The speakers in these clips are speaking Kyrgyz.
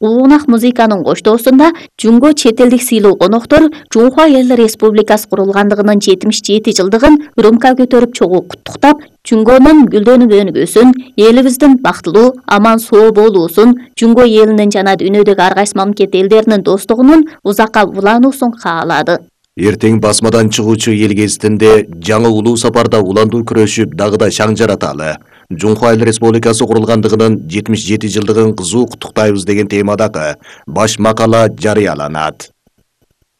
Улуунак музыканын коштоосунда Жунго чет элдик сыйлуу коноктор Жунхва Эл Республикасы курулгандыгынын 77 жылдыгын рюмка көтөрүп чогуу куттуктап, Жунгонун гүлдөнүп өнүгүүсүн, элибиздин бактылуу, аман соо болуусун, Жунго элинин жана дүйнөдөгү ар кайсы мамлекет элдеринин достугунун узакка улануусун каалады. Эртең басмадан чыгуучу эл кезитинде жаңы улуу сапарда уландуу күрөшүп, дагы да шаң жараталы. Жунхва Эл Республикасы курулгандыгынын 77 жылдыгын кызуу куттуктайбыз деген темадагы баш макала жарыяланат.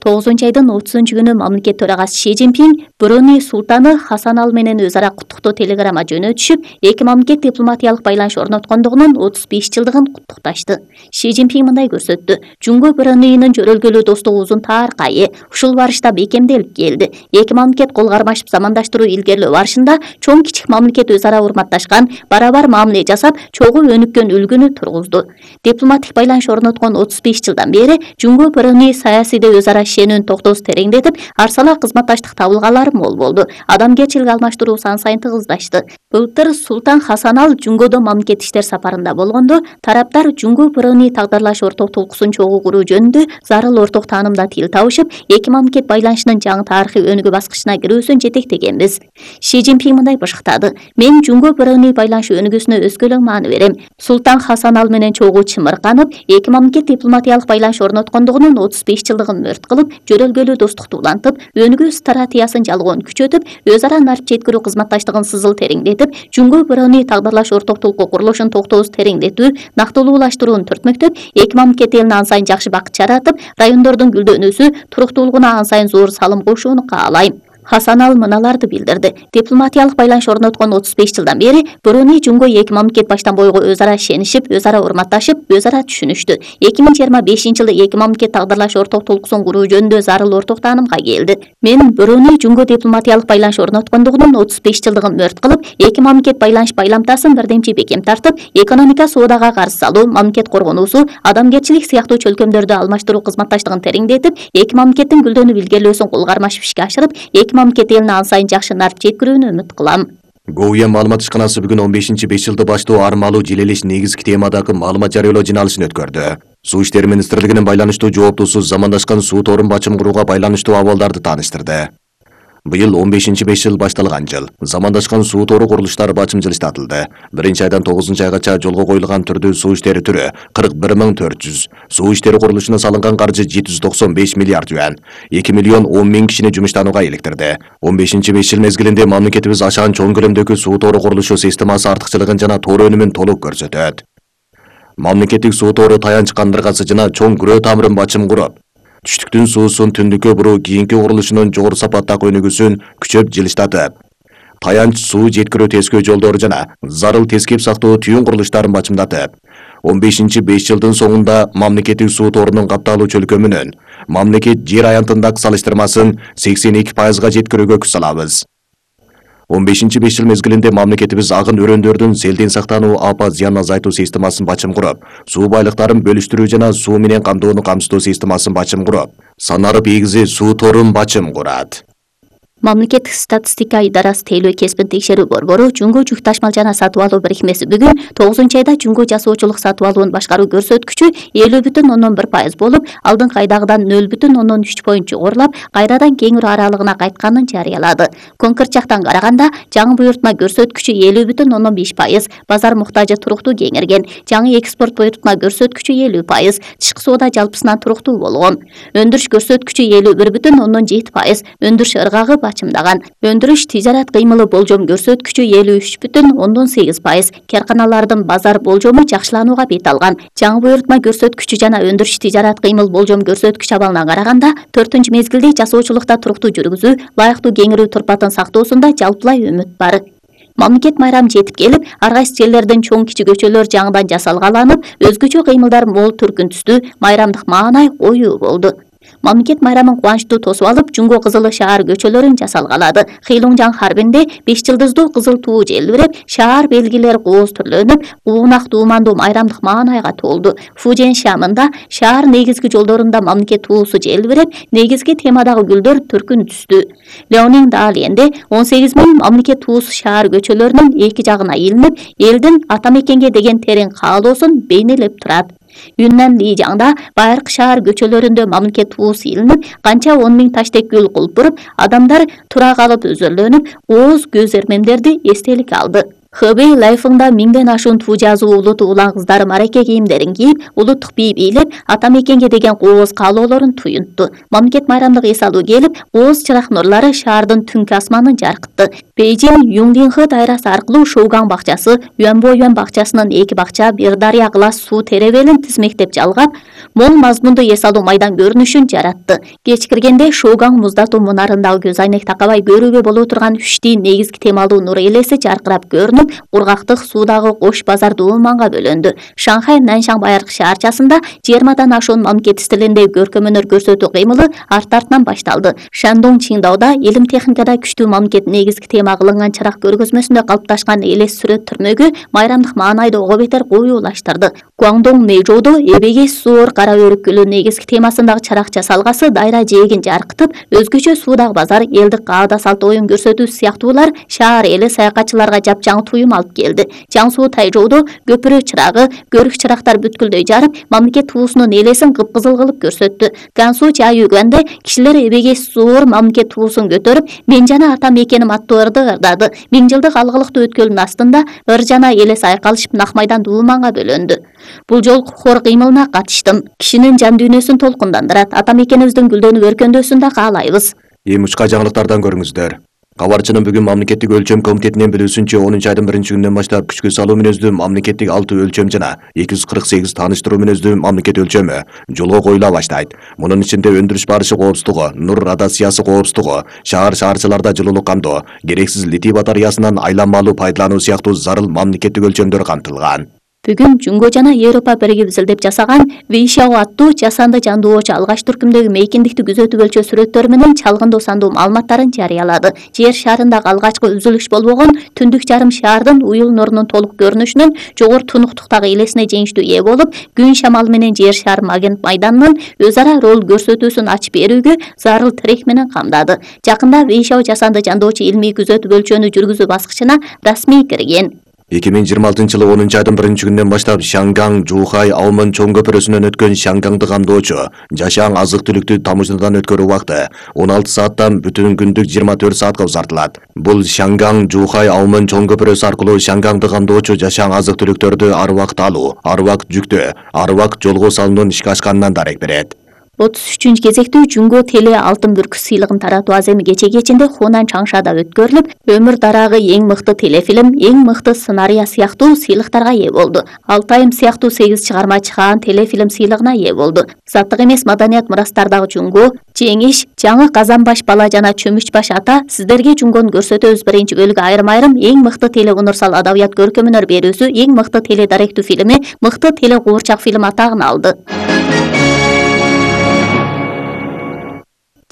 9-айдын 30-күнү мамлекет төрагасы Ши Цзиньпин Бруней султаны Хасанал менен өз ара куттуктоо телеграмма жөнөтүшүп, эки мамлекет дипломатиялык байланыш орноткондугунун 35 жылдыгын куттукташты. Ши Цзиньпин мындай көрсөттү: Жунго Брунейнин жөрөлгөлүү достугу узун таркайы, ушул барышта бекемделип келди. Эки мамлекет кол кармашып замандаштыруу илгерилөө барышында чоң кичик мамлекет өз ара урматташкан, барабар мамиле жасап, чогуу өнүккөн үлгүнү тургузду. Дипломатик байланыш орноткон 35 жылдан бери Жунго Бруней саясийде өз ара ишенүүнүн токтоосу тереңдетип, арсалак кызматташтык табылгалары мол болду. Адамгерчилик алмаштыруу сан сайын тыгыздашты. Былтыр Султан Хасанал Жунгодо мамлекет иштер сапарында болгондо, тараптар Жунго Бруней тагдырлаш орток толкусун чогуу куруу жөнүндө зарыл орток таанымда тил табышып, эки мамлекет байланышынын жаңы тарыхый өнүгүү баскычына кирүүсүн жетектегенбиз. Ши Цзиньпин мындай башыктады: Мен Жунго Бруней байланышы өнүгүүсүнө өскөлөң маани берем. Султан Хасанал менен чогуу чымырканып, эки мамлекет дипломатиялык байланыш орноткондугунун 35 жылдыгын мөрт кылып, жөрөлгөлүү достукту улантып, өнүгүү стратегиясын жалгоон күчөтүп, өз ара нарт жеткирүү кызматташтыгын сызыл тереңдетип, Жунго Бруней тагдырлаш орток толку курулушун токтоосу тереңдетүү, нактылуулаштырууну түртмөктөп, эки мамлекет элине ан сайын жакшы бакыт жаратып, райондордун гүлдөнүүсү, туруктуулугуна ан сайын зор салым кошууну каалайм. Хасанал мыналарды билдирди: Дипломатиялык байланыш орноткон 35 жылдан бери Бруней Жунго эки мамлекет баштан бойго өз ара ишенишип, өз ара урматташып, өз ара түшүнүштү. 2025 жылы эки мамлекет тагдырлаш орток толкусун куруу жөнүндө зарыл орток таанымга келди. Мен Бруней Жунго дипломатиялык байланыш орноткондугунун 35 жылдыгын мөрт кылып, эки мамлекет байланыш байламтасын бирдемчи бекем тартып, экономика соодага каршы салуу, мамлекет коргонуусу, адамгерчилик сыяктуу чөлкөмдөрдү алмаштыруу кызматташтыгын тереңдетип, эки мамлекеттин гүлдөнүп илгерилөөсүн кол кармашып ишке ашырып, мамлекет элине ан сайын жакшы нарт жеткирүүнү үмүт кылам. Гоуя маалымат ишканасы бүгүн 15-5 жылды баштоо армалуу желелеш негизги темадагы маалымат жарыялоо жыйналышын өткөрдү. Суу иштери министрлигинин байланыштуу жооптусу замандашкан суу торун бачым курууга байланыштуу абалдарды тааныштырды. Быйыл 15-5 жыл башталган жыл. Замандашкан суу тору курулуштары бачым жылыштатылды. 1-айдан 9-айгача жолго коюлган түрдүү суу иштери түрү 41 400. Суу иштери курулушуна салынган каржы 795 миллиард юан. 2 миллион 10 миң кишини жумуштанууга иликтирди. 15-5 жыл мезгилинде мамлекетибиз ашан чоң көлөмдөгү суу тору курулушу системасы артыкчылыгын жана тоор өнүмүн толук көрсөтөт. Мамлекеттик суу тору таянч кандыргасы жана чоң күрөө тамырын бачым куруп, түштүктүн суусун түндүккө буруу кийинки курулушунун жогору сапаттагы өнүгүүсүн күчөп жылыштатып, таянч суу жеткирүү тескөө жолдору жана зарыл тескеп сактоо түйүн курулуштарын бачымдатып, 15-5 жылдын соңунда мамлекеттик суу торунун капталуу чөлкөмүнүн мамлекет жер аянтындагы салыштырмасын 82%га жеткирүүгө күч салабыз. 15-5 жыл мезгилинде мамлекетибиз агын өрөөндөрдүн селден сактануу, апат зыянын азайтуу системасын бачым куруп, суу байлыктарын бөлүштүрүү жана суу менен камтоону камсыздоо системасын бачым куруп, санарып ийгизи суу торун бачым курат. Мамлекеттик статистика идарасы тейлөө кесипин текшерүү борбору Жунго жүк ташмал жана сатып алуу бирикмеси бүгүн 9-айда Жунго жасоочулук сатып алуун башкаруу көрсөткүчү 50,1% болуп, алдыңкы айдагыдан 0,3 поинт жогорулап, кайрадан кеңирүү аралыгына кайтканын жарыялады. Конкрет жактан караганда, жаңы буйртма көрсөткүчү 50,5%, базар муктажы туруктуу кеңирген. Жаңы экспорт буйртма көрсөткүчү 50%, тышкы соода жалпысынан туруктуу болгон. Өндүрүш көрсөткүчү 51,7%, өндүрүш ыргагы бачымдаган. Өндүрүш тижарат кыймылы болжом көрсөткүчү 53,8%, карканалардын базар болжому жакшыланууга бет алган. Жаңы буйртма көрсөткүчү жана өндүрүш тижарат кыймыл болжом көрсөткүч абалына караганда, 4-мезгилде жасоочулукта туруктуу жүргүзүү, ылайыктуу кеңирүү турпатын сактоосунда жалпылай үмүт бар. Мамлекет майрамы жетип келип, ар кайсы жерлердин чоң кичи көчөлөр жаңыдан жасалгаланып, өзгөчө кыймылдар мол түркүн түстүү, майрамдык маанай коюу болду. Мамлекет майрамын кубанычтуу тосуп алып, Жунго кызылы шаар көчөлөрүн жасалгалады. Хилунжан харбинде 5 жылдыздуу кызыл туу желбиреп, шаар белгилери кооз түрлөнүп, улуунак дуумандуу майрамдык маанайга толду. Фужен шамында шаар негизги жолдорунда мамлекет туусу желбиреп, негизги темадагы гүлдөр түркүн түстү. Леонин Далиенде 18 000 мамлекет туусу шаар көчөлөрүнүн эки жагына илинип, элдин ата мекенге деген терең каалоосун бейнелеп турат. Юннан Лижаңда байыркы шаар көчөлөрүндө мамлекет туусу илинип, канча 10 миң таштек гүл кулпуруп, адамдар тура калып өзөрлөнүп, ооз көз эрмемдерди эстелик алды. Хэбэй Лайфыңда миңден ашуун туу жазуу улуту улан кыздары мараке кийимдерин кийип, улуттук бий бийлеп, ата мекенге деген кооз каалоолорун туюнтту. Мамлекет майрамдык эс алуу келип, ооз чырак нурлары шаардын түнкү асманын жаркытты. Бейжин Юңдинхэ дайрасы аркылуу Шоугаң бакчасы, Юанбоюан бакчасынын 2 бакча, бир дарыя кылас суу теребелин тизмектеп жалгап, мол мазмунду эс алуу майдан көрүнүшүн жаратты. Кеч киргенде Шоугаң муздатуу мунарындагы көз айнек такабай көрүүгө боло турган 3 негизги темалуу нур элеси жаркырап көрүнүп, кургактык суудагы кош базар дууманга бөлөндү. Шанхай Наншаң байыркы шаарчасында 20 ашуун мамлекет стилиндеги көркөм-өнөр көрсөтүү кыймылы арт-артынан башталды. Шандong Чиндауда илим техникада күчтүү мамлекет негизги тема кылынган чырак көргөзмөсүндө калыпташкан элес сүрөт түрмөгү майрамдык маанайды ого бетер коюулаштырды. Гуаңдоң Мэйжоудо эбеге суур кара өрүк гүлү негизги темасындагы чырак жасалгасы дайра жээгин жаркытып, өзгөчө суудагы базар, элдик каада салт оюн көрсөтүү сыяктуулар шаар эли саякатчыларга жапжаң туюм алып келди. Жаңсуу Тайжоудо көпүрө чырагы, көрүк чырактар бүткүлдөй жарып, мамлекет туусунун элесин кыпкызыл кылып көрсөттү. Гансу Чайюганда кишилер эбеге суур мамлекет туусун көтөрүп, мен жана ата мекеним аттуу ырды ырдады. 1000 жылдык алгылыктуу өткөлдүн астында ыр жана элес айкалышып нак майдан дууманга бөлөндү. Бул жолку хор кыймылына катыштым. Кишинин жан дүйнөсүн толкундандырат. Ата мекенибиздин гүлдөнүп өркөндөөсүн да каалайбыз. Эми учка жаңылыктардан көрүңүздөр. Кабарчынын бүгүн мамлекеттик өлчөм комитетинен билүүсүнчө 10 айдын 1-күнүнөн баштап күчкө салуу мүнөздүү мамлекеттик 6 өлчөм жана 248 тааныштыруу мүнөздүү мамлекет өлчөмү жолго коюла баштайт. Мунун ичинде өндүрүш барышы коопсуздугу, нур радиациясы коопсуздугу, шаарчыларда жылуулук камдоо, керексиз литий батареясынан айланмалуу пайдалануу сыяктуу зарыл мамлекеттик өлчөмдөр камтылган. Бүгүн Жунго жана Европа биригип изилдеп жасаган Вейшао аттуу жасанды жандоочу алгач түркүмдөгү мейкиндикти күзөтүп өлчөө сүрөттөрү менен чалгындоо сандуу маалыматтарын жарыялады. Жер шарындагы алгачкы үзүлүш болбогон түндүк жарым шаардын уюл нурунун толук көрүнүшүнүн жогору тунуктуктагы элесине жеңиштүү ээ болуп, күн шамалы менен жер шары магнит майданынын өз ара роль көрсөтүүсүн ачып берүүгө зарыл тирек менен камдады. Жакында Вейшао жасанды жандоочу илмий күзөтүп өлчөөнү жүргүзүү баскычына расмий кирген. 2026-жылы 10 айдын 1-күнүнөн баштап Шангаң Жухай Аумын чоң көпүрөсүнөн өткөн Шангаңды камдоочу жашаң азык-түлүктү тамыжыдан өткөрүү убакыты 16 сааттан бүтүн күндүк 24 саатка узартылат. Бул Шангаң Жухай Аумын чоң көпүрөсү аркылуу Шангаңды камдоочу жашаң азык-түлүктөрдү ар убакыт алуу, ар убакыт жүктөө, ар убакыт жолго салуунун ишке ашканынан дарек берет. 33 кезектүү Жунго теле алтын бүркү сыйлыгын таратуу аземи кече кечинде Хунан Чаңшада өткөрүлүп, өмүр дарагы эң мыкты телефилм, эң мыкты сценарий сыяктуу сыйлыктарга ээ болду. Алтайым сыяктуу 8 чыгарма чыгаан телефилм сыйлыгына ээ болду. Заттык эмес маданият мурастардагы Жунго, Жеңиш, Жаңы Казанбаш бала жана Чөмүчбаш ата сиздерге Жунгону көрсөтөбүз биринчи бөлүгү айрым-айрым эң мыкты теле универсал адабият көркөм-өнөр берүүсү, эң мыкты теле даректүү фильми, мыкты теле куурчак фильм атагын алды.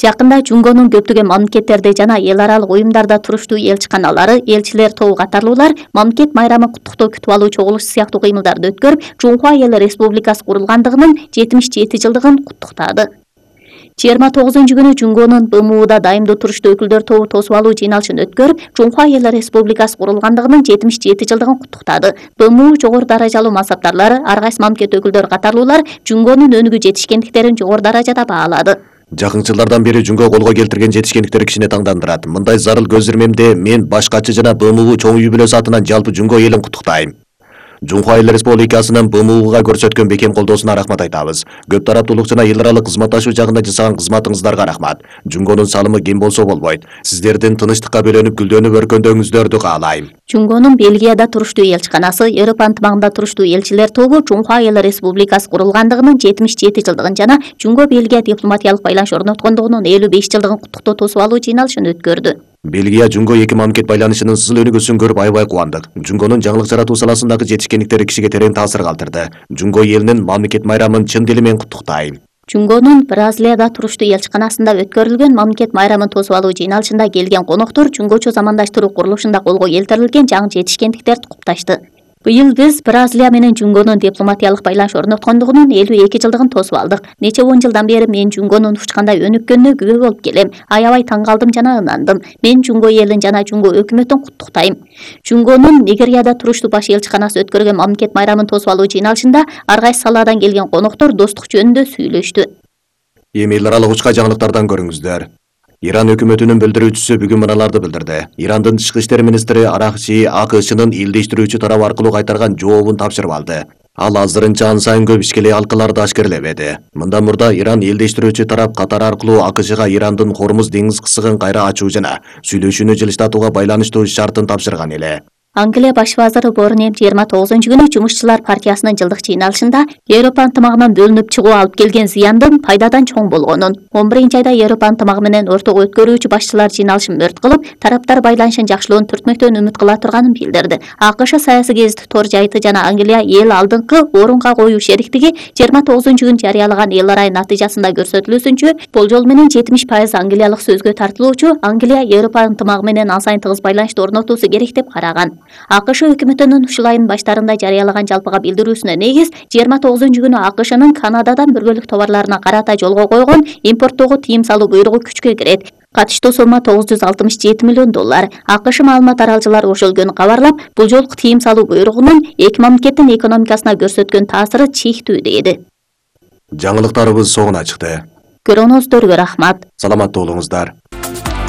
Жакында Жунгонун көптөгөн мамлекеттерде жана эл аралык уюмдарда туруштуу элчиканалары, элчилер тобу катарлуулар мамлекет майрамын куттуктоо күтүп алуу чогулуш сыяктуу кыймылдарды өткөрүп, Жунхуа Эл Республикасы курулгандыгынын 77 жылдыгын куттуктады. 29-күнү Жунгонун БМУда дайымдуу туруштуу өкүлдөр тобу тосуп алуу жыйналышын өткөрүп, Жунхуа Эл Республикасы курулгандыгынын 77 жылдыгын куттуктады. БМУ жогору даражалуу мансаптарлары, ар кайсы мамлекет өкүлдөрү катарлуулар Жунгонун өнүгүү жетишкендиктерин жогору даражада баалады. Жакын жылдардан бери Жунго колго келтирген жетишкендиктер кишине таңдандырат. Мындай зарыл көз ирмемде мен башкачы жана БМУ чоң үй бүлөсү атынан жалпы Жунго элин куттуктайм. Жунхуа Эл Республикасынын БМУга көрсөткөн бекем колдоосуна рахмат айтабыз. Көп тараптуулук жана эл аралык кызматташуу жагында жасаган кызматыңыздарга рахмат. Жунгонун салымы кем болсо болбойт. Сиздердин тынычтыкка бөлөнүп гүлдөнүп өркөндөөңүздөрдү каалайм. Жунгонун Бельгияда туруштуу элчиканасы, Европа ынтымагында туруштуу элчилер тобу Жунхуа Эл Республикасы курулгандыгынын 77 жылдыгын жана Жунго Бельгия дипломатиялык байланыш орноткондугунун 55 жылдыгын куттуктоо тосуп алуу жыйналышын өткөрдү. Бельгия Жунго эки мамлекет байланышынын сызыл өнүгүүсүн көрүп аябай кубандык. Жунгонун жаңылык жаратуу саласындагы жетишкендиктери кишиге терең таасир калтырды. Жунго элинин мамлекет майрамын чын дили менен куттуктайм. Жунгонун Бразилияда туруштуу элчиканасында өткөрүлгөн мамлекет майрамын тосуп алуу жыйналышында келген коноктор жунгочу замандаштыруу курулушунда колго келтирилген жаңы жетишкендиктерди кутташты. Быйыл биз Бразилия менен Жунгонун дипломатиялык байланыш орноткондугунун 52 жылдыгын тосуп алдык. Нече 10 жылдан бери мен Жунгонун учкандай өнүккөнүнө күбө болуп келем. Аябай таң калдым жана ынандым. Мен Жунго элин жана Жунго өкмөтүн куттуктайм. Жунгонун Нигерияда туруштуу баш элчиканасы өткөргөн мамлекет майрамын тосуп алуу жыйналышында ар кайсы саладан келген коноктор достук жөнүндө сүйлөштү. Эми эл аралык учка жаңылыктардан көрүңүздөр. Иран өкмөтүнүн билдирүүчүсү бүгүн мыналарды билдирди. Ирандын тышкы иштер министри Аракчи АКШнын илдештирүүчү тарап аркылуу кайтарган жообун тапшырып алды. Ал азырынча ан сайын көп ишкеле алкаларды ашкерлебеди. Мындан мурда Иран илдештирүүчү тарап Катар аркылуу АКШга Ирандын Хормуз деңиз кысыгын кайра ачуу жана сүйлөшүүнү жылыштатууга байланыштуу шартын тапшырган эле. Англия баш вазыры Борнем 29-күнү Жумушчулар партиясынын жылдык жыйналышында Европа ынтымагынан бөлүнүп чыгуу алып келген зыяндын пайдадан чоң болгонун, 11-айда Европа ынтымагы менен ортого өткөрүүчү башчылар жыйналышын мөрт кылып, тараптар байланышын жакшылоонун түртмөктөн үмүт кыла турганын билдирди. АКШ саясий гезити Тор жайыты жана Англия эл алдыңкы орунга коюу шериктиги 29-күнү жарыялаган эл арай натыйжасында көрсөтүлүүсүнчө, болжол менен 70% англиялык сөзгө тартылуучу Англия Европа ынтымагы менен ан сайын тыгыз байланышты орнотуусу керек деп караган. АКШ өкмөтүнүн ушул айдын баштарында жарыялаган жалпыга билдирүүсүнө негиз 29-күнү АКШнын Канададан бөлгөлүк товарларына карата жолго койгон импорттоого тыйым салуу буйругу күчкө кирет. Катыштуу сомма $967 миллион. АКШ маалымат таралчылары ошол күнү кабарлап, бул жолку тыйым салуу буйругунун эки мамлекеттин экономикасына көрсөткөн таасиры чектүү деди. Жаңылыктарыбыз соңуна чыкты. Көрүүңүздөргө рахмат. Саламатта болуңуздар.